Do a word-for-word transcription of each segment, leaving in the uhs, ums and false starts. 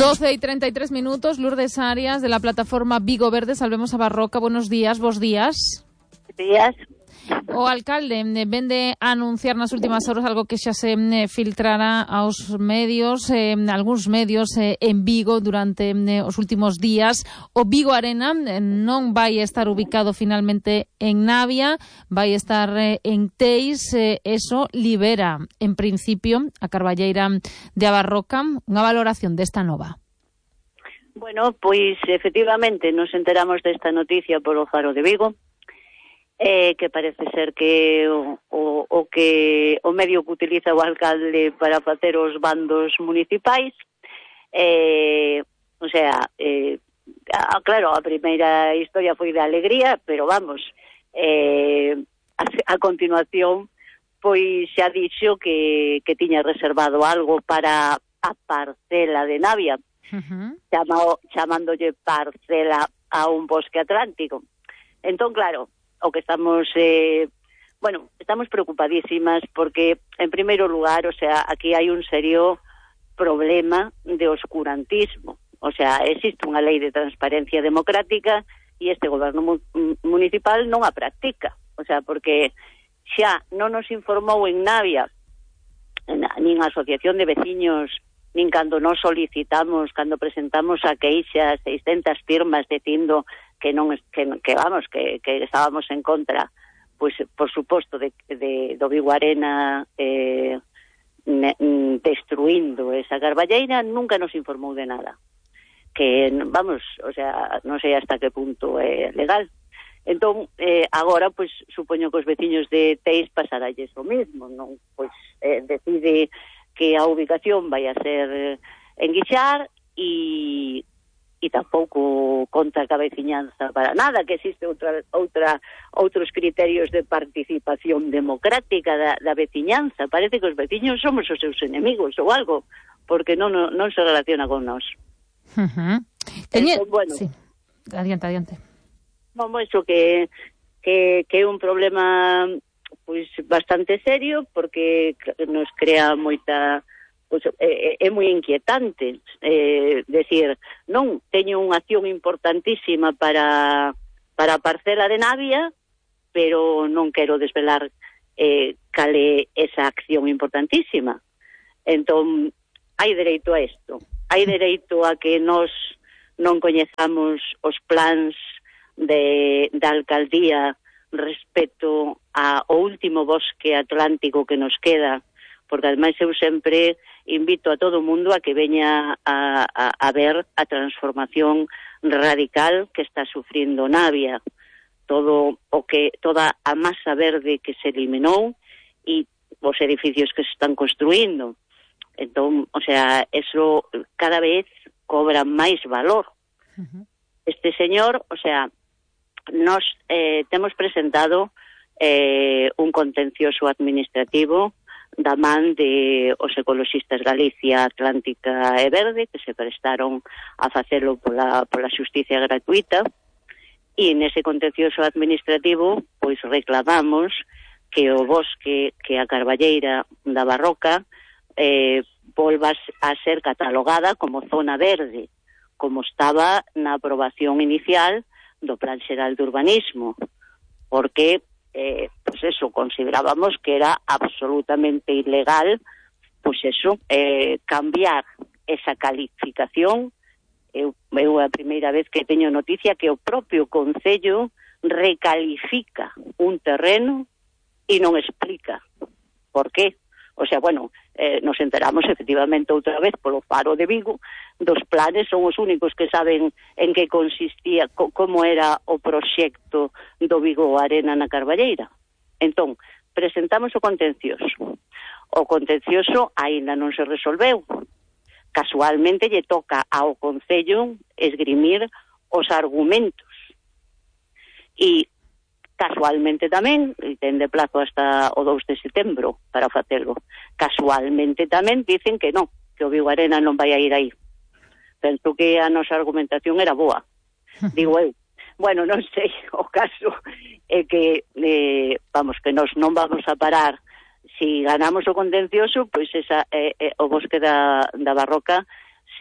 doce y treinta y tres minutos, Lourdes Arias, de la plataforma Vigo Verde, Salvemos a Barroca. Buenos días, vos días. Días. O alcalde ven de anunciar nas últimas horas algo que xa se filtrará aos medios, eh, algúns medios eh, en Vigo durante eh, os últimos días. O Vigo Arena eh, non vai estar ubicado finalmente en Navia, vai estar eh, en Teis. Eh, eso libera, en principio, a Carballeira de A Barroca. Unha valoración desta nova. Bueno, pois efectivamente nos enteramos desta noticia por o Faro de Vigo. Eh, que parece ser que o, o, o que o medio que utiliza o alcalde para facer os bandos municipais, eh, o sea, eh, a, claro, a primeira historia foi de alegría, pero vamos, eh, a, a continuación, pois xa dixo que, que tiña reservado algo para a parcela de Navia, uh-huh. Chamao, chamándolle parcela a un bosque atlántico. Entón, claro, o que estamos, eh, bueno, estamos preocupadísimas porque, en primeiro lugar, o sea, aquí hai un serio problema de oscurantismo. O sea, existe unha lei de transparencia democrática e este goberno mu municipal non a practica. O sea, porque xa non nos informou en Navia, nin a Asociación de Veciños, nin cando nos solicitamos, cando presentamos a queixa, seiscentas firmas dicindo que non que, que vamos, que, que estábamos en contra, pois por suposto de, de do Vigo Arena eh, ne, destruindo esa Carballeira, nunca nos informou de nada. Que vamos, o sea, non sei hasta que punto é legal. Entón, eh, agora, pois, supoño que os veciños de Teis pasaralles o mismo, non? Pois eh, decide que a ubicación vai a ser en Guixar e e tampouco conta a veciñanza para nada, que existe outra outra outros criterios de participación democrática da, da veciñanza. Parece que os veciños somos os seus enemigos ou algo, porque non, non, non se relaciona con nós. Uh-huh. Teñe... Entón, bueno, sí. Adiante, adiante. Vamos, iso que, que, que é un problema pois bastante serio, porque nos crea moita... Pues, é, é moi inquietante, eh, decir, non, teño unha acción importantísima para, para a parcela de Navia, pero non quero desvelar eh, cal é esa acción importantísima. Entón, hai dereito a isto, hai dereito a que nós non coñezamos os plans de, da alcaldía respecto ao último bosque atlántico que nos queda, porque ademais eu sempre invito a todo o mundo a que veña a, a, a ver a transformación radical que está sufrindo Navia, todo o que toda a masa verde que se eliminou e os edificios que se están construindo. Entón, o sea, eso cada vez cobra máis valor. Uh-huh. Este señor, o sea, nos eh, temos presentado eh, un contencioso administrativo da man de os ecoloxistas Galicia, Atlántica e Verde, que se prestaron a facelo pola, pola xusticia gratuita, e nese contencioso administrativo pois reclamamos que o bosque, que a Carballeira da Barroca eh, volva a ser catalogada como zona verde, como estaba na aprobación inicial do Plan Xeral de Urbanismo, porque Eh, pues eso, considerábamos que era absolutamente ilegal, pues eso, eh, cambiar esa calificación. Eu, eu a primeira vez que teño noticia que o propio Concello recalifica un terreno e non explica por qué. O sea, bueno, eh, nos enteramos efectivamente outra vez polo Faro de Vigo dos planes, son os únicos que saben en que consistía, co como era o proxecto do Vigo Arena na Carballeira. Entón, presentamos o contencioso. O contencioso aínda non se resolveu. Casualmente lle toca ao Concello esgrimir os argumentos. E casualmente tamén, e ten de plazo hasta o dous de setembro para facelo, casualmente tamén dicen que non, que o Vigo Arena non vai a ir aí. Penso que a nosa argumentación era boa, digo eu. Bueno, non sei, o caso é que, eh, vamos, que nos non vamos a parar. Si ganamos o contencioso, pois esa, eh, eh, o bosque da, da Barroca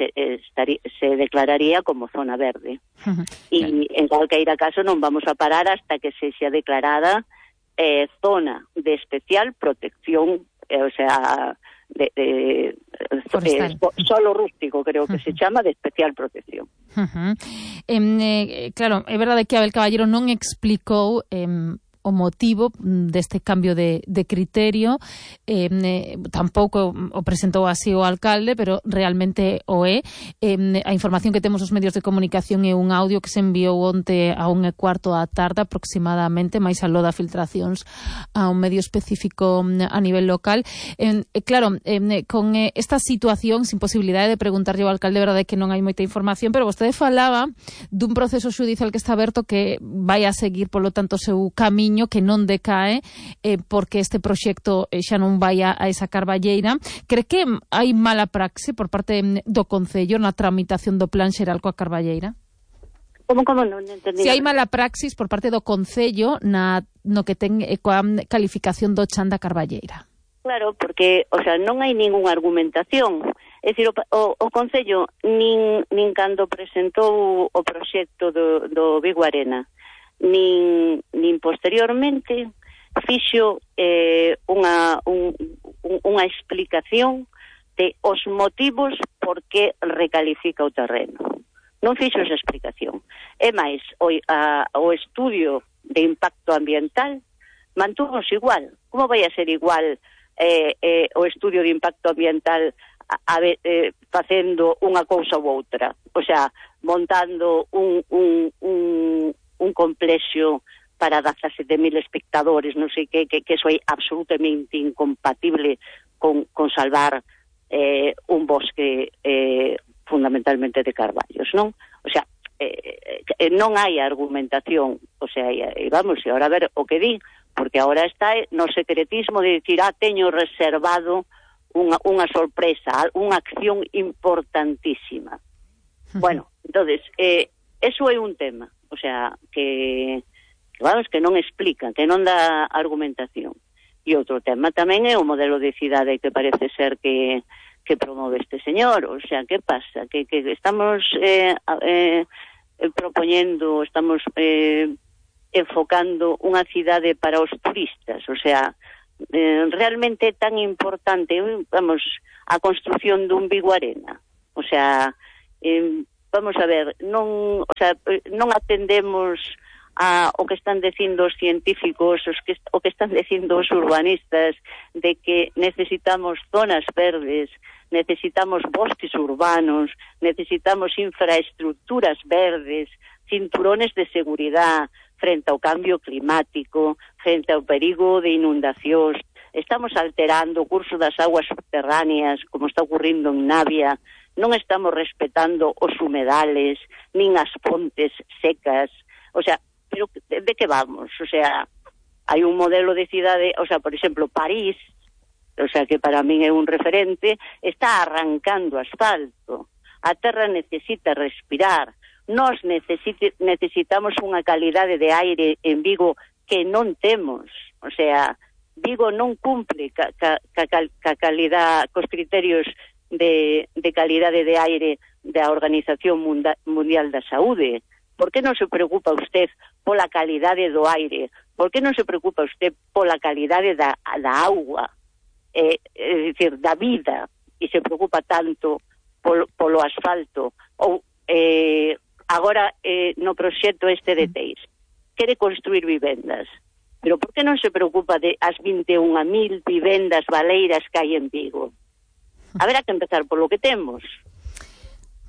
se, estaría, se declararía como zona verde. Uh-huh. E Claro. en calqueira caso non vamos a parar hasta que se xa declarada eh, zona de especial protección, eh, o sea, de, de eh, solo rústico, creo que uh-huh. se chama, de especial protección. Uh-huh. Eh, claro, é verdade que Abel Caballero non explicou eh, o motivo deste cambio de, de criterio, eh, eh, tampouco o presentou así o alcalde, pero realmente o é. Eh, a información que temos os medios de comunicación é un audio que se enviou onte a un e cuarto da tarde aproximadamente, máis aló da filtracións a un medio específico a nivel local. Eh, claro, eh, con esta situación, sin posibilidade de preguntarlle ao alcalde, verdade que non hai moita información, pero vostede falaba dun proceso xudicial que está aberto que vai a seguir, polo tanto, o seu camiño, que non decae eh, porque este proxecto eh, xa non vai a, a esa carballeira. Cree que hai mala praxe por parte do Concello na tramitación do plan xeral coa carballeira? Como, como non entendí? Se hai mala praxis por parte do Concello na, no que ten eh, coa calificación do chan da carballeira? Claro, porque, o sea, non hai ningunha argumentación. É dicir, o, o, o Concello nin, nin cando presentou o proxecto do, do Vigo Arena, nin, nin posteriormente fixo eh, unha, un, un, unha explicación de os motivos por que recalifica o terreno. Non fixo esa explicación. É máis, o, a, o estudio de impacto ambiental mantúvose igual. Como vai a ser igual eh, eh, o estudio de impacto ambiental a, a, eh, facendo unha cousa ou outra? O sea, montando un, un, un un complexo para dezasete mil espectadores, non sei que, que, que eso é absolutamente incompatible con, con salvar eh, un bosque eh, fundamentalmente de carballos, non? O sea, eh, eh, non hai argumentación, o sea, e vamos, e ahora a ver o que di, porque ahora está no secretismo de dicir, ah, teño reservado unha, unha sorpresa, unha acción importantísima. Bueno, entonces, eh, eso é un tema. O sea, que, que vamos, que non explica, que non dá argumentación. E outro tema tamén é o modelo de cidade que parece ser que, que promove este señor. O sea, que pasa? Que, que estamos eh, eh, propoñendo, estamos eh, enfocando unha cidade para os turistas. O sea, eh, realmente é tan importante, vamos, a construción dun Vigo Arena. O sea, eh, vamos a ver, non, o sea, non atendemos a o que están dicindo os científicos, os que, o que están dicindo os urbanistas, de que necesitamos zonas verdes, necesitamos bosques urbanos, necesitamos infraestructuras verdes, cinturones de seguridad frente ao cambio climático, frente ao perigo de inundacións. Estamos alterando o curso das aguas subterráneas, como está ocurrindo en Navia. Non estamos respetando os humedales, nin as pontes secas. O sea, pero de, de que vamos? O sea, hai un modelo de cidade, o sea, por exemplo, París, o sea, que para min é un referente, está arrancando asfalto. A terra necesita respirar. Nós necesite, necesitamos unha calidade de aire en Vigo que non temos. O sea, Vigo non cumple ca, ca, ca, ca calidad, cos criterios de, de calidade de aire da Organización Mundial da Saúde. Por que non se preocupa usted pola calidade do aire? Por que non se preocupa usted pola calidade da, da auga? Eh, é dicir, da vida, e se preocupa tanto polo, polo asfalto? Ou eh, agora eh, no proxecto este de Teis quere construir vivendas, pero por que non se preocupa de as vinte e unha mil vivendas baleiras que hai en Vigo? Haberá que empezar por lo que temos.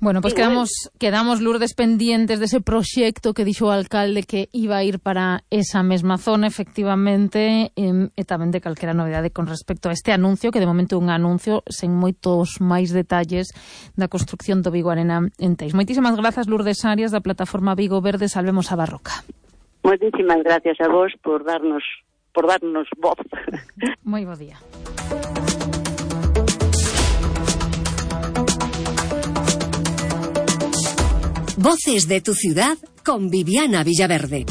Bueno, pues quedamos, quedamos, Lourdes, pendientes dese proxecto que dixo o alcalde que iba a ir para esa mesma zona, efectivamente, e, e tamén de calquera novidade con respecto a este anuncio, que de momento é un anuncio sen moitos máis detalles da construcción do Vigo Arena en Teis. Moitísimas grazas, Lourdes Arias, da plataforma Vigo Verde, Salvemos a Barroca. Moitísimas gracias a vos por darnos, por darnos voz. Moi bo día. Voces de tu ciudad con Viviana Villaverde.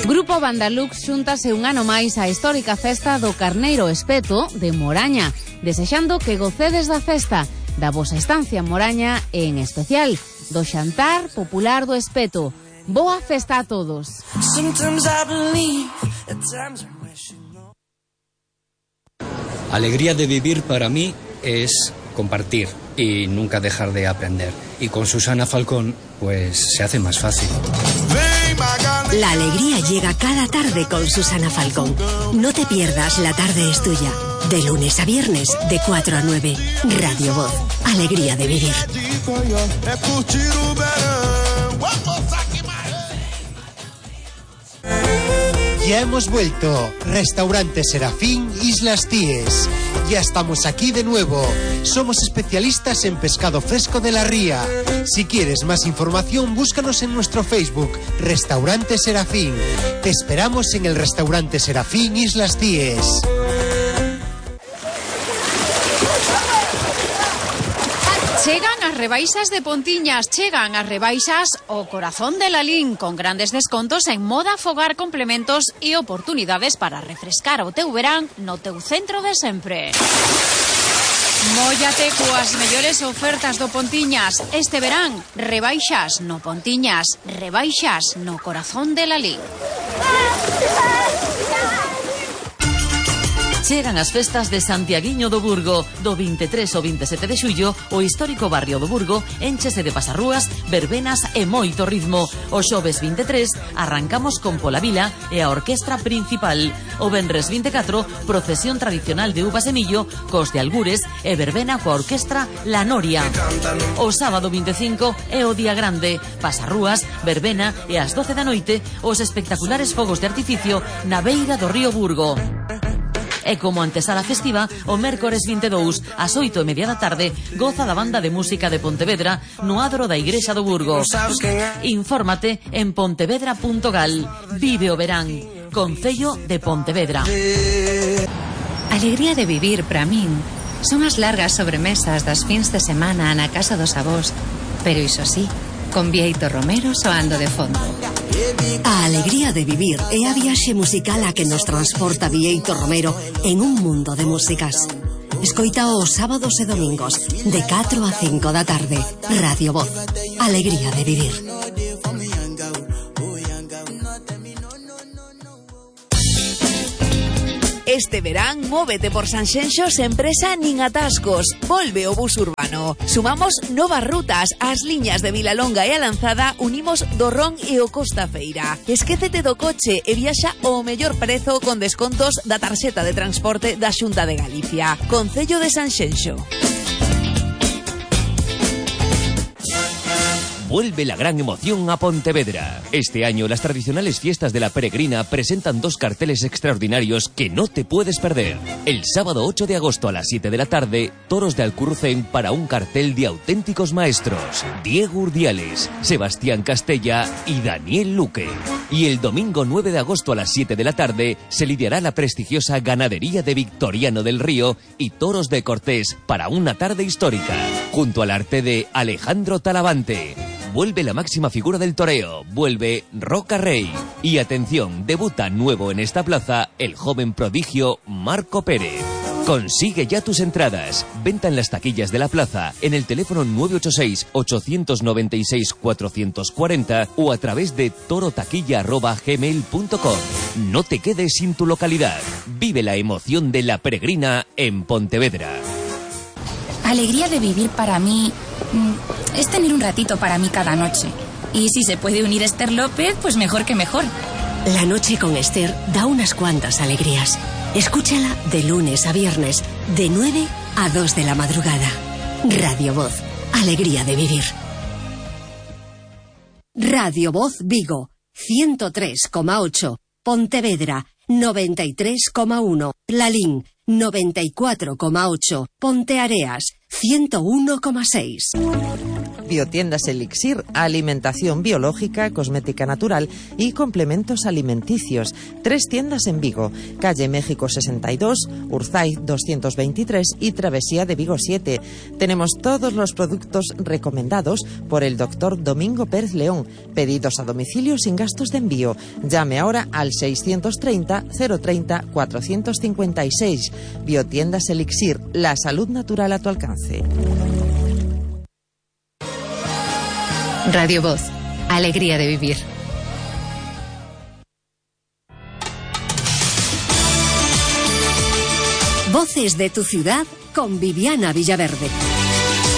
Grupo Grupo Bandalux xúntase un ano máis á histórica festa do Carneiro Espeto de Moraña, desexando que gocedes da festa, da vosa estancia en Moraña e, en especial, do xantar popular do Espeto. Boa festa a todos. Alegría de vivir para mí es compartir y nunca dejar de aprender. Y con Susana Falcón, pues se hace más fácil. La alegría llega cada tarde con Susana Falcón. No te pierdas La Tarde es Tuya. De lunes a viernes, de cuatro a nueve. Radio Voz. Alegría de vivir. Ya hemos vuelto. Restaurante Serafín, Islas Cíes. Ya estamos aquí de nuevo. Somos especialistas en pescado fresco de la ría. Si quieres más información, búscanos en nuestro Facebook, Restaurante Serafín. Te esperamos en el Restaurante Serafín, Islas Cíes. Chegan as rebaixas de Pontiñas, chegan as rebaixas o corazón de Lalín, con grandes descontos en moda, fogar, complementos e oportunidades para refrescar o teu verán no teu centro de sempre. Móllate coas mellores ofertas do Pontiñas. Este verán, rebaixas no Pontiñas, rebaixas no corazón de Lalín. Chegan as festas de Santiaguiño do Burgo. Do vinte e tres ao vinte e sete de xullo, o histórico barrio do Burgo énchese de pasarrúas, verbenas e moito ritmo. O xoves vinte e tres arrancamos con Polavila e a orquestra principal. O venres vinte e catro, procesión tradicional de uvas e millo, cos de Algures e verbena coa orquestra La Noria. O sábado vinte e cinco é o día grande, pasarrúas, verbena e ás doce da noite os espectaculares fogos de artificio na beira do río Burgo. E como antesala festiva, o mércores vinte e dous, ás oito e media da tarde, goza da banda de música de Pontevedra no adro da Igrexa do Burgo. Infórmate en pontevedra punto gal. Vive o verán. Concello de Pontevedra. Alegría de vivir para min son as largas sobremesas das fins de semana na casa dos avós, pero iso sí, con Bieito Romero soando de fondo. A alegría de vivir é a viaxe musical a que nos transporta Bieito Romero en un mundo de músicas. Escoita os sábados e domingos de catro a cinco da tarde. Radio Voz. Alegría de vivir. Este verán, móvete por Sanxenxo sen presa nin atascos. Volve o bus urbano. Sumamos novas rutas. As liñas de Vilalonga e a Lanzada unimos do Ron e o Costa Feira. Esquécete do coche e viaxa ao mellor prezo con descontos da tarxeta de transporte da Xunta de Galicia. Concello de Sanxenxo. Vuelve la gran emoción a Pontevedra. Este año las tradicionales fiestas de la Peregrina presentan dos carteles extraordinarios que no te puedes perder. El sábado ocho de agosto a las siete de la tarde, Toros de Alcurrucén para un cartel de auténticos maestros. Diego Urdiales, Sebastián Castella y Daniel Luque. Y el domingo nueve de agosto a las siete de la tarde se lidiará la prestigiosa ganadería de Victoriano del Río y Toros de Cortés para una tarde histórica. Junto al arte de Alejandro Talavante. Vuelve la máxima figura del toreo, vuelve Roca Rey. Y atención, debuta nuevo en esta plaza el joven prodigio Marco Pérez. Consigue ya tus entradas. Venta en las taquillas de la plaza, en el teléfono nueve ocho seis, ocho nueve seis, cuatro cuatro cero o a través de torotaquilla arroba gmail punto com. No te quedes sin tu localidad. Vive la emoción de la Peregrina en Pontevedra. Alegría de vivir para mí es tener un ratito para mí cada noche. Y si se puede unir Esther López, pues mejor que mejor. La noche con Esther da unas cuantas alegrías. Escúchala de lunes a viernes, de nueve a dos de la madrugada. Radio Voz. Alegría de vivir. Radio Voz Vigo. ciento tres coma ocho. Pontevedra. noventa y tres coma uno. Lalín. noventa y cuatro coma ocho. Ponteareas. ciento uno coma seis. Biotiendas Elixir, alimentación biológica, cosmética natural y complementos alimenticios. Tres tiendas en Vigo, calle México sesenta y dos, Urzaiz doscientos veintitrés y Travesía de Vigo siete. Tenemos todos los productos recomendados por el doctor Domingo Pérez León. Pedidos a domicilio sin gastos de envío. Llame ahora al seiscientos treinta, cero treinta, cuatrocientos cincuenta y seis. Biotiendas Elixir, la salud natural a tu alcance. Radio Voz, alegría de vivir. Voces de tu ciudad con Viviana Villaverde.